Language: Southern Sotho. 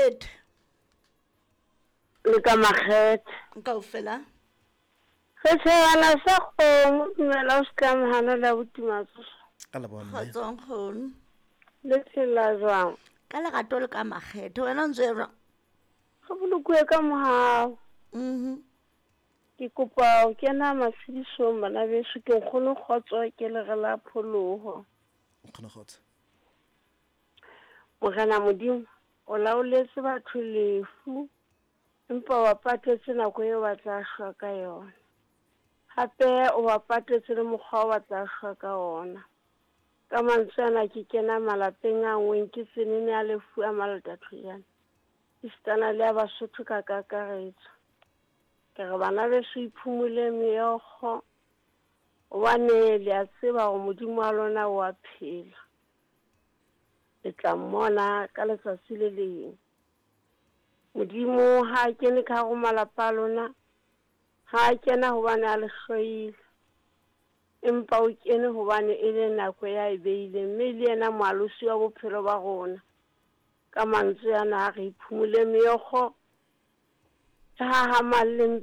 Makgethe. Le ka Makgethe. Kaofela. Setšhabana sa kgomo, dumela o se ka mohana le abuti Matsoso. Ka leboha mme. Kgotso nkgono. Le phela jwang? Ka lerato le ka makgethe. Wena o ntse jwang? Re bolokuwe ka mohau. Mhm. Ke kopa ho kena matshedisong bana beso ke nkgono kgotso ke lere la pholoho. Nkgono kgotso. Morena Modimo o laoletse batho lefu empa o ba patetse nako eo ba tla shwa ka yona. Hape o ba patetse le mokgwa o ba tla shwa ka ona. Ka mantswe ana ke kena malapeng a nngweng ke tsenene a lefu a malatathojana. Esitana le a Basotho ka kakaretso. Ke re bana beso iphumule meokgo gobane le a tseba gore Modimo wa lona o a phela. Le tla mmona ka letsatsi le leng. Modimo ha a kene ka hare ho malapa a lona, ha a kena hobane a le hloile, empa o kene hobane e le nako ya e beileng, mme le yena moalosi wa bophelo ba rona. Ka mantswe ana a re iphumule meokgo, re hahamalleng.